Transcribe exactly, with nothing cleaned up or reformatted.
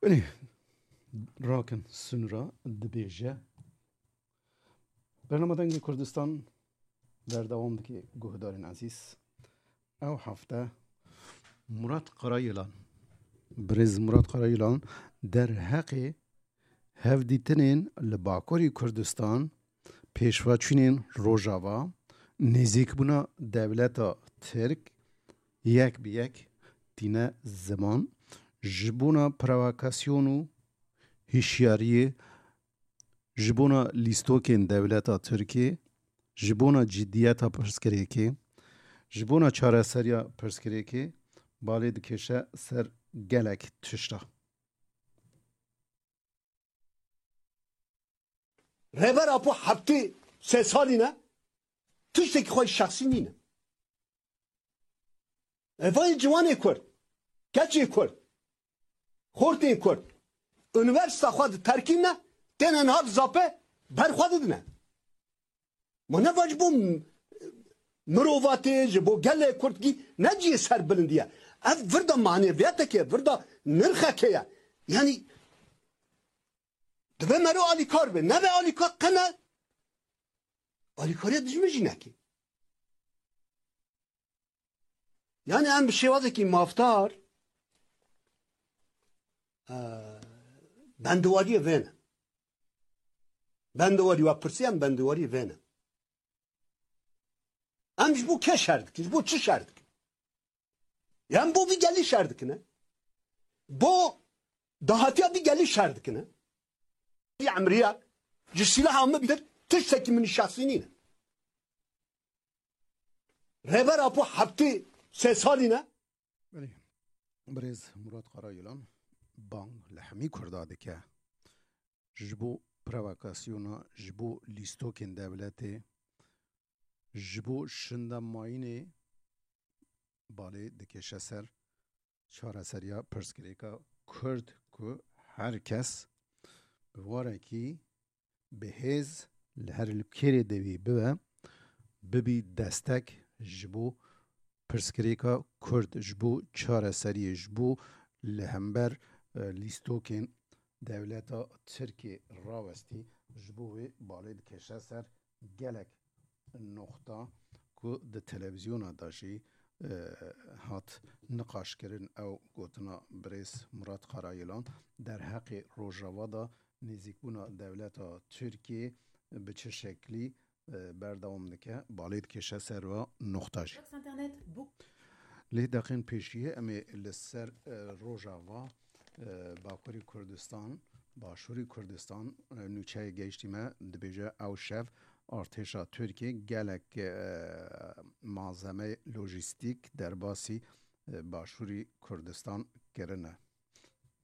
Belê, Rakin Sunra dibêje. Bernama Dengê Kurdistan berdewam dike, guhdarên ezîz. Ew hefte Murat Karayilan, birêz Murat Karayilan derheqê hevdîtinên li Bakurê Kurdistan, pêşveçûnên Rojava, nêzîkbûna dewleta Tirk yek bi yek tîne ziman, ji bona provokasyon û hişyariyê, ji bona lîstokên dewleta Tirkiyê, ji bona ciddiyeta pirsgirêkê, ji bona çareseriya pirsgirêkê balê dikêşe ser gelek tişta. Rêber Apo heftê sê salî ne, tiştekî xwe şexsî nîne. Evayê ciwanê Kurd, keçê Kurd, xortên Kurd, unîversîta xwe diterkîne, têne niha di zapê ber xwe didine. Ma ne va ji bo m-, mirovatê, ji bo gelê Kurd gî ne cihê serbilindî ye. Ev virda maneviyateke, virda nirxeke ye. Yanî divê mero alîkar be. Nebe alîkar qe ne. Alîkariya dijmin jî neke. Yani em bi şêwazekî mafdar, e, bendewariyê vê ne. Bendewarî we pirsî, em bendewariyê vê ne. Em ji bo kê şer dikin? Ji bo çi şer dikin? Em bo vî gelî şer dikine. Bo dahatiya vî gelî şer dikine. Vî emriya ji sîlaha min bitir tiştekî min şexsî nîne. Rêber Apo heftê sê salî ne. Belê. Birêz Murat Karayilan bang li hemî Kurda dike. Ji bo provokasyona, ji bo lîstokên dewletê, ji bo şinda mayînê balê dikêşe ser çareseriya pirsgirêka Kurd ku her kes bi warekî bi hêz li her li kêrê de wî bibe, bibî destek ji bo pirsgirêka Kurd, ji bo çareseriyê, ji bo li hember, e, lîstokên dewleta Tirkiyê rawestî, ji bo wê balê dikêşe ser gelek noxta ku di televîzyona de jî, e, hat niqaşkirin. Ew gotina birêz Murat Karayilan derheqê Rojava de nêzîkbûna dewleta Tirkiyê bi çi şeklî, e, berdewam dike, balê dikêşe ser va noxta jî. Lê deqên pêşiyê em ê li ser, e, Rojava, e, Bakurê Kurdistan, Başûrê Kurdistan, e, nûçeyê gehiştî me, dibêje ew şev artêşa Tirkiyê gelek, e, malzemeyê lojîstîk derbasî, e, Başûrê Kurdistan kirine.